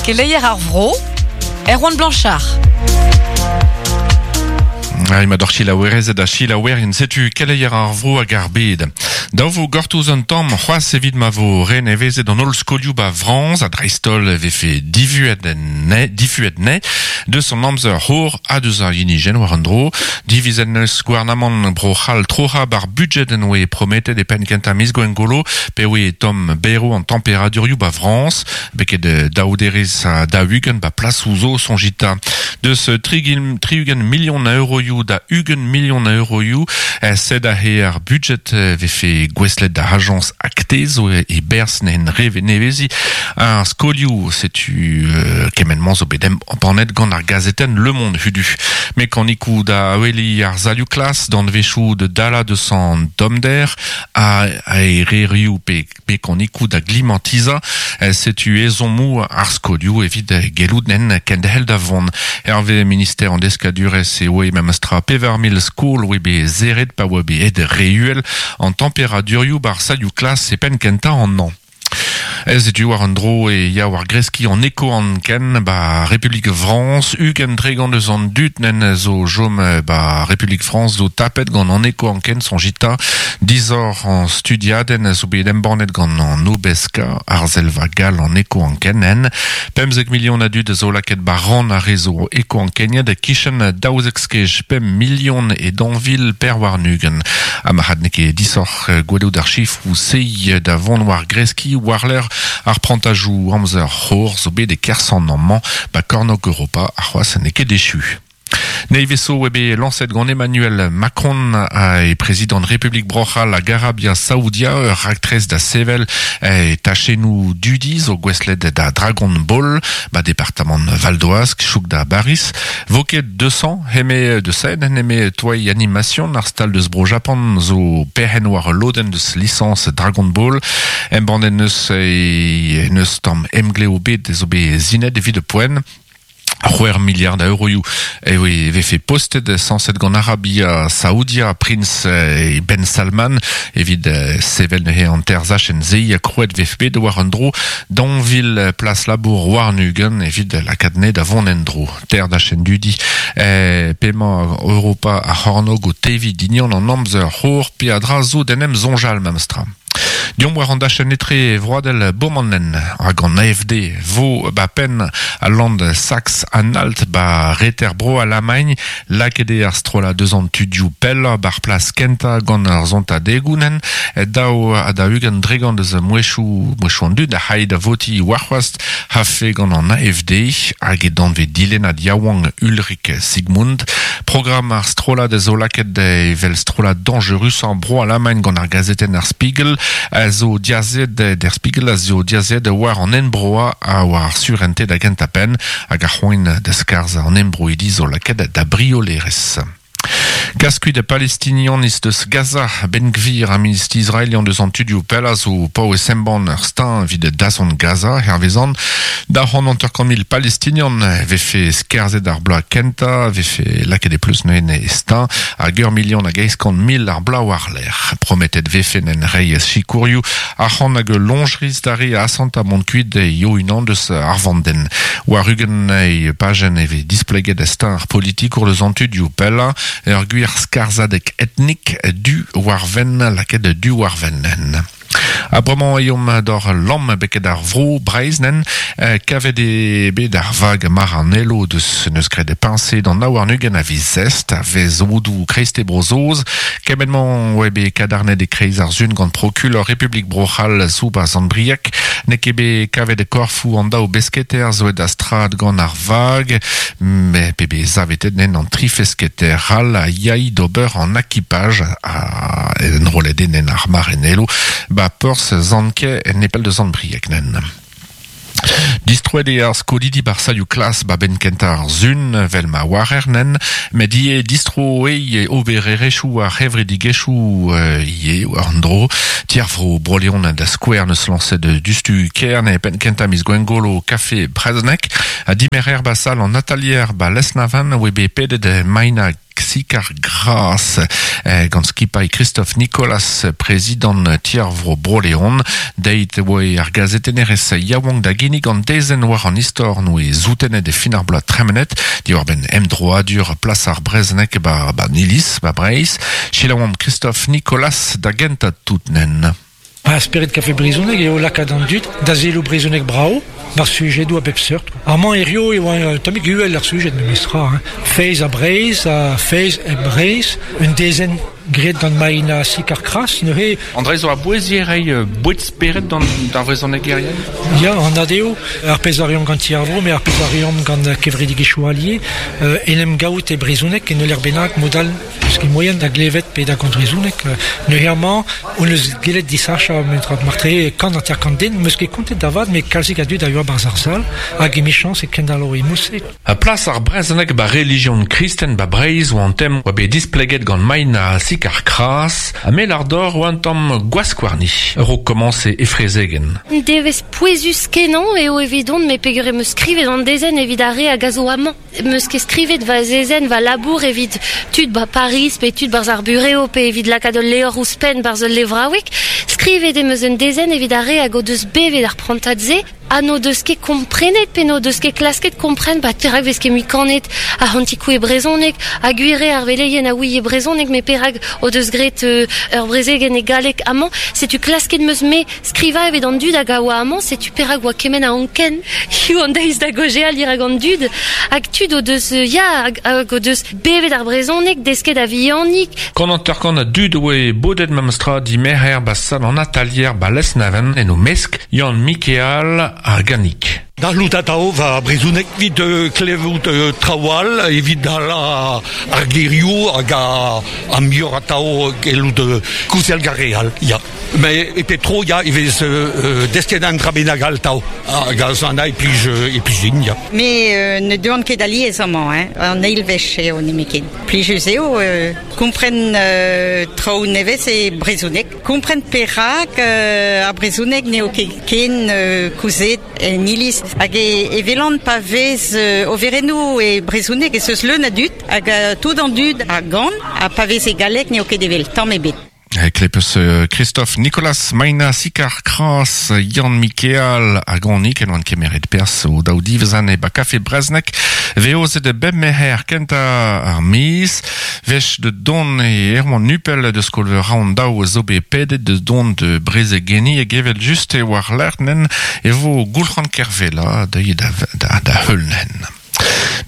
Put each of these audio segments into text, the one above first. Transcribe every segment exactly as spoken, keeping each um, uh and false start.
Keleier ar vro, Erwan Blanchard. Ai ma d'ar chilaouerez da chilaouerien setu keleier ar vro hag ar bed. Daou vo gortoz un tamm c'hoazh evit ma vo renevezet an holl skolioù ba Frañs a dreist-holl vefe divuet ne, difuet ne, deus an amzer c'hor ha deus ar yenijen war an dro, divizen neus gouarnamant bro c'hall troha bar budget en oe prometet e penn kentañ miz gwengolo pe oe tom bero an temperadurioù ba Frañs, beket daouderez a daou-ugent ba plas ouzo sonjita. Deus tri-ugent million a euroioù da ugent million a euroioù, sed a he ar budget vefe gweslet da agence acte zo e berz n'en reve nevezi ar skolioù setu euh, kemenman zo bet embannet gant ar gazetenn Le Monde hudu. Mekanikou da weli ar zalioù klas d'an vechou de dala de san domder a aererioù pe mekanikou da glimatiza setu ezomou ar skolioù evit gelout nen kendhel da vont. Hervé ministère an deskadurez e oe memestra pevar mil skol oe be zeret pa oe be ed reuel an temperadurioù bar salioù klas e penn kentañ an an. Ez etu war an dro e ya war greski an eko an ken ba Republik Frañs ugent tregont eus an dud nen zo jom ba Republik Frañs zo tapet gant an eko an ken son jita dizor an studiaden zo bet embannet gant an Obeska ar zelva gal an eko an ken nen pemzek million a dud zo laket ba ran ar rezo eko an keniad kichen daouzek skej pemp million e danvil per war nugen ha ma had neke disor gwelout ar chifrou sei da vont war greski war l'eur ar prantajou amzer c'hor zo bet e kersan an mañ ba kornog Europa ar c'hoazh n'eo ket dechu. Neiveso ebe lancet gant Emmanuel Macron e président République Brochal hag Arabia Saoudia ur raktres da sevel e tachennoù dudi zo gweslet da Dragon Ball ba departamant Val d'Oise chouk da Baris voket deux cents heme de Seine heme toai animation ar stal deus bro Japan zo perc'henn war lodenn deus licence Dragon Ball embannet neus e neus tamm emgleo bet zo bet zinet evit de poen c'hwec'h milliard a euroioù e oe vefe postet sañset gant Arabia Saoudia Prince e Ben Salman evit sevel neuze an terzachenn ze a krouet vefe bet war an dro danvil plas labour war nugen evit lakaat ne da vont en dro ter dachen dudi e pemañ Europa a c'hornog o tevi dignon an amzer c'hor pe a dra zo d'en em zonjal memestra. Diomp war an dachenn etre vroadel Bomannen hag an A F D vo ba penn a land Sax Anhalt ba reter bro Alamagn lakaet eo ar strollad deus an tudioù pell bar plas kentañ gant ar zontadegoù-nen daou ha da ugent dregont deus mouezhioù mouezhioù an dud a c'hai da voti warc'hoazh hafe gant an A F D hag e danve dilennad yaouank Ulrich Sigmund. Programm ar strollad zo lakaet evel strollad dangerus an bro Alamagn gant ar gazetenn ar Spiegel a zo diazet der Spiegel a zo diazet war an enbroa a war surente da gentañ penn hag ar c'hoant da skarzh an enbroidi zo lakaet da briolerez. Kaskuit a palestinian is deus Gaza Ben Gvir a ministr israelian deus an tudioù pell a zo pao e semban ur stin evit dazont Gaza hervezan da c'hant hanter-kant mil palestinian vefe skarzhet ar bloaz kentañ vefe lakaet e pleus neuze e stin hag ur million hag eizh kant mil ar bloaz war-lerc'h prometet vefe n'en reiz sikourioù ar c'hant hag lonjriz da re a asant a mont kuit yo unan deus ar vandenn war ugent e pajenn eve displeget stin ar politikour deus an tudioù pell ur gwir skarzhadeg etnik du war venn lakaet du war vennen. A bremañ eomp d'or lamm beket ar vro Breizh nen kavet e bet ar vag mar an elo deus neus graet peñse d'an naou warn-ugent a viz zest a vez odoù kreiste Bro-Saoz kement-mañ oe bet kadarnet e kreiz ar sun gant prokulor Republik Bro-C'hall zo ba Sant-Brieg n'eo ket bet kavet e korfoù an daou besketer zo da strad gant ar vag me pe bet zavetet nen an tri fesketer all a yai d'ober an akipaj a enrollet nen ar mar en elo ba Porzh Zanke en nepell de Sant-Brieg nen. Distroet eo ar skolidi bar salioù klas ba ben kentañ ar sun vel ma warer nen met ivez distro eo obererezhioù ar c'hevredigezhioù ivez war an dro Tiervro Bro-Leon da skouer neus lañset dustu kern e penn kentañ miz Gwengolo kafe Brezhoneg ha dimerer ba sal an atalier ba Lesnavan oe bet pedet maina Sikar Gras gant skipailh Christophe Nicolas, prezidant Ti ar Vro Bro-Leon, deit oe ar gazetennerez yaouank da ginnig an dezenn war an istor noe zoutenet e fin ar bloaz tremenet, diwar benn emdroadur plas ar brezhoneg ba, ba Nilis, ba Breizh, selaouomp Christophe Nicolas da gentañ tout nen. Ba spered kafe brezhoneg eo lakaat an dud da selaou brezhoneg brao, war sujedoù a bep seurt. Amañ hirio e oa tammig uhel ar sujed memestra. Hein. Feiz ha Breizh, ha Feiz e Breizh, un dezenn graet gant Maïna Sicard-Cras, neuze... André zo a bouezier rei boued spered d'an d'ar vrezhonegerien? Ya, an adeo, ar pezh a reomp gant Ti ar Vro, met ar pezh a reomp gant kevredigezhioù allié, euh, en em gaout e brezhoneg en ul lec'h bennak modal eus ket moaien da glevet pe da gont brezhoneg. Neuze amañ, on eus gellet disachañ mentra martre kant hanter kant den, meus ket kontet da vat, met kalzik a dud a yoa barzh ar sal, hag emichañs e kendalo e mouse. A plas ar brezhoneg ba relijion kristen ba Breizh oa an tem oa bet displeget gant Maïna Sicard-Cras, ha mel ar dor oa an tamm gwaskwarni, ur o komañse e frezegen. Devez pouezus kenañ eo evidon, me peogwir em eus skrivet an dezenn evit ar re hag a zo amañ. Em eus ket skrivet va zezenn, va labour evit tud ba Paris, pe tud barzh ar bureo, pe evit lakaat ul levr ouzhpenn barzh ul levraoueg. Skrivet em eus un dezenn evit ar re hag o deus bevet ar prantad-se, ha n'o deus ket komprenet, pe n'o deus ket klasket kompren, ba perak vez ket mui kanet ar c'hantikou e brezhoneg, ha gwir eo ar veleien a ouie brezhoneg, met perak o deus graet euh, ur brezegenn e galleg amañ, setu klasket 'm eus me skrivañ evit an dud hag a oa amañ, setu perak oa kement a anken hiziv an deiz da gaozeal dirak an dud, hag tud o deus, ya, hag, hag o deus bevet ar brezhoneg, desket a vihanik. Kant hanter-kant a dud oe bodet memestra dimerc'her ba sal an atalier ba Lesneven en o mesk Yann Mikeal ar Ganik. Da lout atao va brezhoneg evit euh, klevout euh, traoù all, evit dala ar gerioù hag a, a muioc'h atao gellout euh, kouzel gar re all, ya. Mais e pep tro, ya, e vez euh, desket an dra bennak all tao. Hag a zan e plij, e plij din, ya. Me euh, ne deuan ket alies amañ, hein, an eil wech eo nemetken. Plijus eo, euh, kompren euh, traoù nevez e brezhoneg. Kompren perak euh, ar brezhoneg n'eo ket ken euh, kouzet en iliz. Hag e, e velan pa vez euh, overennoù e brezhoneg ez eus leun a dud, hag euh, tout an dud a gan, ha pa vez e galleg n'eo ket evel tamm ebet. Klepus Christophe Nicolas Maïna Sicard-Cras Yann Mikeal hag Anik en oant kemeret perzh o daou divezan e ba kafe Breznek veozet e bep merc'her kentañ ar miz wech de don e Erwan Nupel de skol-veur Rohan daou zo bet pedet de don de brezegenni hag evel just e war lerc'h nen e vo Goulc'han Kervella da da, da, da heul nen.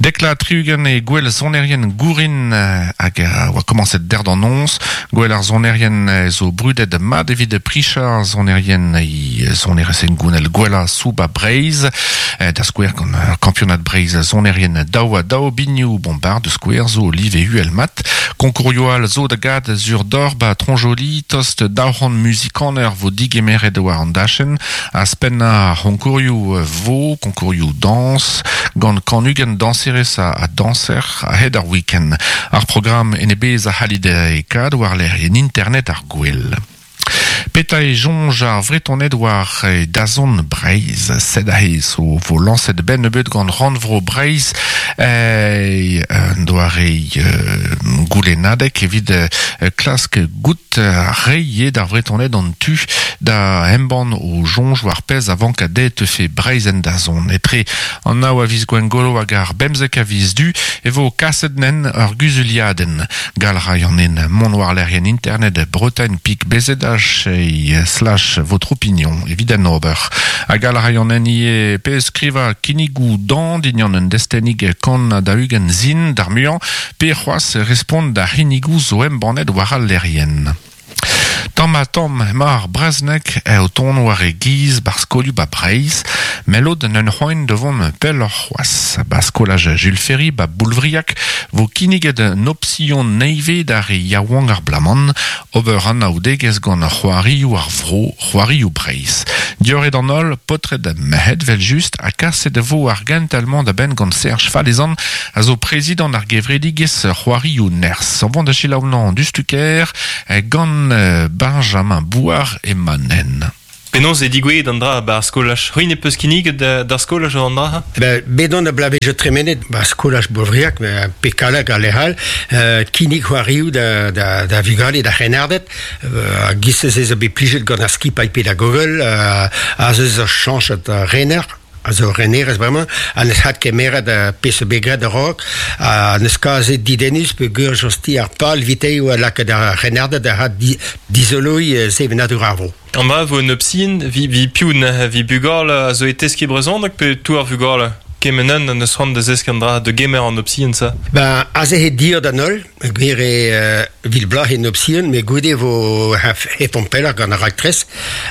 Dekla tri-ugent e gwel sonerien gourin hag a oa komañset der d'an noz. Gwel ar sonerien zo brudet mat evit pricha sonerien e sonerezh gounel gwella sou ba Breizh. Da skouer gant kampionad Breizh sonerien daou ha daou biniou bombard de skouer zo live uhel mat. Konkourioù all zo da gad zur d'or ba Tronjoli tost daou c'hant muzikaner vo digemeret war an dachenn a spenna konkourioù vo, konkourioù dañs gant kant ugent dañserez a, a dañser a-hed ar week-end. Ar programm en e bezh a c'hallit e kad war lec'hienn internet ar gwel. Petra e soñj ar Vretoned war dazont Breizh, sed aze zo vo lañset ben nebeut gant Rannvro Breizh e un doare euh, goulennadeg evit klask gout reiñ d'ar Vretoned an tu da embann o soñj war pezh a vank dezhe teufe Breizh en dazont. Etre an nav a viz Gwengolo hag ar bemzek a viz Du e vo kaset nen ur guzuliadenn. Gall ray an en mont war lec'hienn internet Bretagne pik B Z H slash votre opinion evit an ober. Hag gall ray an en ivez pe skrivañ kinnigoù dan dindan un destennig kant da ugent sin d'ar muiañ pe c'hoazh respont da c'hinnigoù zo embannet war al lec'hienn. Tamm ha tamm emañ ar brezhoneg o tont war e giz bar skolioù ba Breizh, met lod n'eus c'hoant da vont pelloc'h c'hoazh. Ba skolaj Jules Ferry ba Boulvriag vo kinniget un opsion nevez d'ar re yaouank ar bloaz-mañ ober anaoudegezh gant c'hoarioù ar vro, c'hoarioù Breizh. Diorret an holl, paotred ha merc'hed vel just ha kaset vo ar gentel-mañ da benn gant Serge Falezan a zo prezidant ar gevredigezh c'hoarioù Nerzh. An vont da selaou an dustuker gant Benjamin Bouard e Manen. Penaos e digouezet an dra ba ar skolaj. C'hwi ne peus kinniget d'ar skolaj an dra? Ben, bedon a blavejo tremenet ba skolaj Boulvriag, pe kalak a lehal, euh, kinnig c'hoarioù da, da, da vugale da c'hrennarded, euh, a giz ez a bet plijet gant ar skipailh pedagogel, euh, a zeus ur chañchet rener, a zo renerez bremañ, a neus hat kemeret a pezh begret a raok, a neus kazet didennus pe gur josti ar pal vitei oa lakaet ar c'hrennarded a hat di, dizoloi sevenadur ar vro. An dra vo un opsin, vi, vi piv na vi bugal a zo e teski brezhoneg pe tout ar vugal kemenen an eus c'hoant da zesk an dra de gemer an opsin sa? Ben, aze he dir da nol, gwir e uh, vil blach en opsin, me goude vo hefon peller gant ar raktres,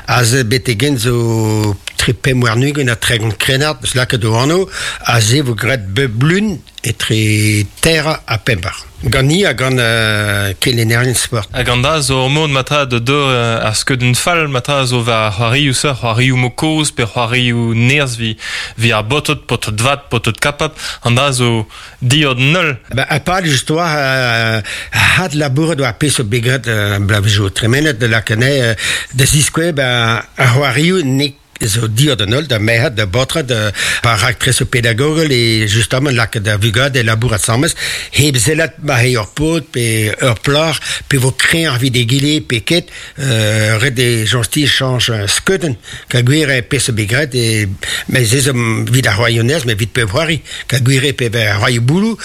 aze betegen zo tre pemp warn-ugent ha tregont krennard, eus lakaet o anv, aze vo graet blun etre terre ha pembar. Gant ni ha gant uh, kelennerien sport. Hag an dra zo ur mod matra da dor uh, ar skeudenn fall matra zo war c'hoarioù sa, c'hoarioù mo kozh pe c'hoarioù nerzh vi, vi ar botot, potot vat, potot kapap, an dra zo diod null. Ba, a pal just oa uh, hat labouret war pezh o begret uh, blavejo tremenet de lakane uh, da ziskouez ba ar c'hoarioù ne zo diod an holl, da merc'hed, da baotred, da raktres o pedagogel e justement lakaet da vugale labourat asambles, hep sellat ma he ur paotr pe ur plac'h, pe vo kreñv evit egile pe ket, euh, ret e joñsti chañch skeudenn, ka gwir e pezh bet graet, e, mais ez eus evit ar c'hoarioù mais evit pep c'hoari, ka gwir e pe ar c'hoarioù bouloù,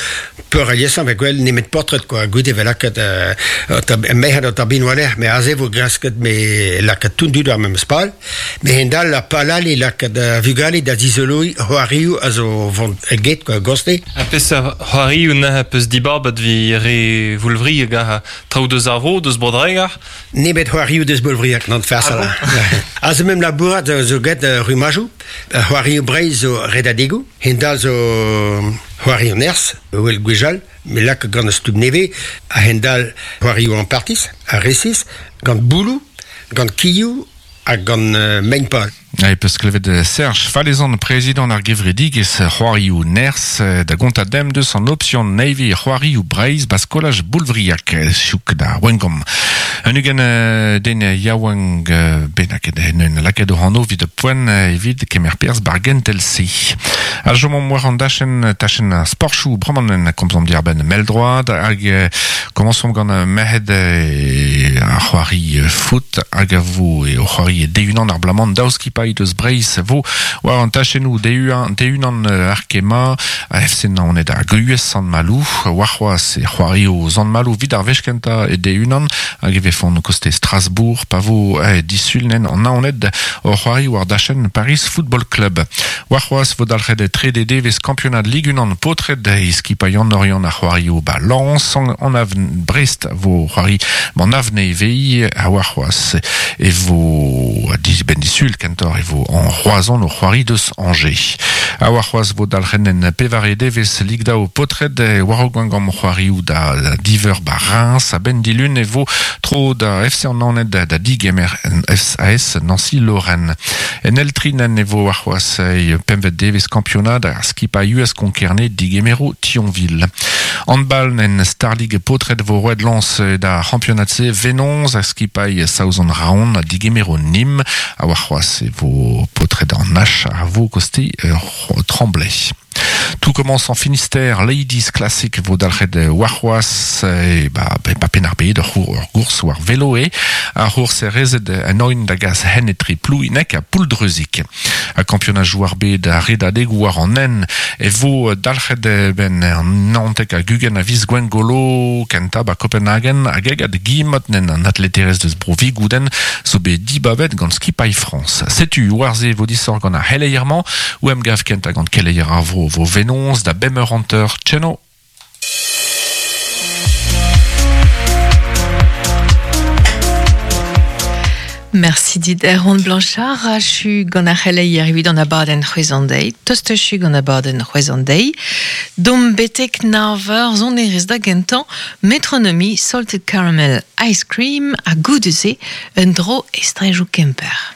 peur aliesañ ve gwell nemet paotred, quoi, goude ve lakaet euh, merc'hed o tabin war-lerc'h, mais aze vo grasket me lakaet tout dud ar memes pal, mais hendal ar palal e lakaat da vugale da dizoloi c'hoarioù a zo vont get, quoi, goste. A peseurt c'hoarioù na peus dibabet vi re Voulvriag a traoù deus ar vro, deus Bro-Dreger? Nemet c'hoarioù deus Boulvriag, n'an farsal. Ah bon? A zo mem labourat zo get rumajoù, c'hoarioù Breizh zo redadegoù, hendal zo c'hoarioù nerzh, wel gwechall, me lak gant ar stumm nevez, a hendal c'hoarioù an partis, a resis, gant bouloù, gant kioù, hag gant uh, mein-pal. E peus klevet Serge Falezan, prezidant ar gevredigezh c'hoarioù nerzh, da gontañ demp deus an option Navy c'hoarioù Breizh ba skolaj Boulvriag, chouk da Wengom. Un ugent den yaouank bennak en lakaet o anv evit poent evit kemer perzh bar gentel se. A chomomp war an dachenn tachenn ar sportchoù bremañ komzomp diàr-benn mell-droad hag komañsomp gant merc'hed ar c'hoari foot hag a vo e o c'hoari de-unan ar blamant daou skipailh deus Breizh vo war an tachennoù de-unan ar kema a F C Naoned hag U S Sant-Maloù war c'hoazh e c'hoario Sant-Maloù vid ar wech kentañ e de-unan hag e vefont koste Strasbourg pa vo eh, disulnen an Naoned o c'hoari war dachenn Paris Football Club. War c'hoazh vo dalc'het trede devezh kampionad Ligue unan paotred e skipailh an Oriant ar c'hoario ba Lens an avn Brest vo c'hoari an avne vei a war c'hoazh e vo ben disul kentor e vo an Roazhon o c'hoari deus Angers. A war c'hoazh vo dalc'hen en pevare devezh Ligue daou paotred war o gant c'hoarioù da, da diveur ba Reims a ben dilun e vo tro da F C an Naoned da, da digemer S A S Nancy-Lorraine. En Eltrinen e vo war c'hoazh e pemvet devezh kampionad ar skipailh U S Konkerne digemero Thionville. Handball en Star League paotred vo roet lañs da c'hampionad se Venonz a skipailh Saozon Raon a digemero Nîmes a war c'hoazh e vo paotred an H a vo koste Tremblay. Tout commence en Finistère, Ladies Classic vo dalc'het war c'hoazh e ba, ba Penn-ar-Bed ur gours war velo e ar c'hours e rezet an oin da gas hen etre Plouinek ha Pouldreuzic. A kampionad jouar bed a redadegoù war an en e vo dalc'het ben an Nantek hag ugent a viz Gwengolo kenta ba Copenhagen hag egad Guillemot nen an atleterez deus bro Vigouden zo bet dibabet gant skipailh France. Setu war ze vo disoc'h gant ar c'heleier-mañ ou em gav kenta gant keleier ar vro vo Venonz da bemp eur hanter. Tcheno. Merci dit Erwan Blanchard, a chu gant ar c'heleier evit an abadenn c'hwezan deiz, tost chu gant abadenn c'hwezan deiz, dom betek nav eur sonerezh da gentañ, Metronomy, Salted Caramel Ice Cream, ha goude-se un dro estrejoù Kemper.